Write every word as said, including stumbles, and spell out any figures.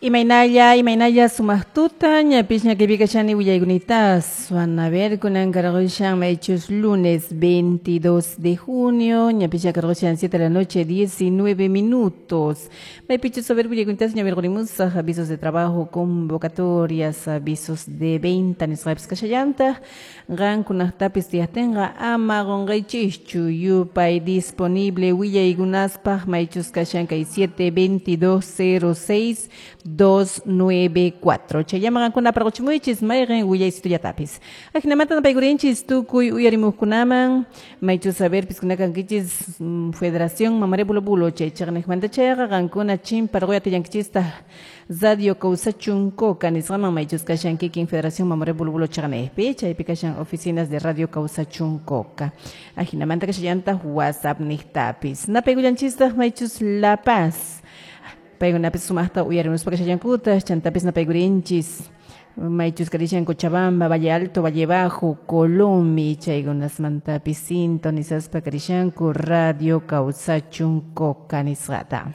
Imaynalla, imaynalla sumaq tuta, ñapis ñakipikashani willaykunita a ver kunan karqushan maychus lunes veintidós de junio, ñapis ñakarqushan siete de la noche diecinueve minutos. Maypichus a ver willaykunita ñavirqurimusaq avisos de trabajo, convocatorias, avisos de venta nisqapis kashallantaq, qankunaqtapis tiyaqtinqa ama qunqaychischu yupay disponible willaykunaspaq maychus kashan kay siete veintidós cero seis dos nueve cuatro. Chayllaman qankuna parquchimuychis mayqin willaysitullatapis. Ajinamanta napaykurinchis tukuy uyarimuqkunaman maychus saberpis kunakankichis Federación Mamoré Bulo Bulo chay chaqniqmanta chayqa qankuna chimparquy atillankichistaq Radio Kawsachun Coca nisqaman maychus kashan kikin Federación Mamoré Bulo Bulo chaqniqpi chaypi kashan oficinas de Radio Kawsachun Coca. Ajinamanta kashallantaq WhatsApp niqtapis. Napaykullanchistaq maychus La Paz. Paykunapis sumaqta uyarimuspa kashallankuta, chantapis napaykurinchis maychus karishan Cochabamba, Valle Alto, Valle Bajo, Colomi, chaykunasmantapis sintonizaspa karishanku Radio Kawsachun Coca nisqata.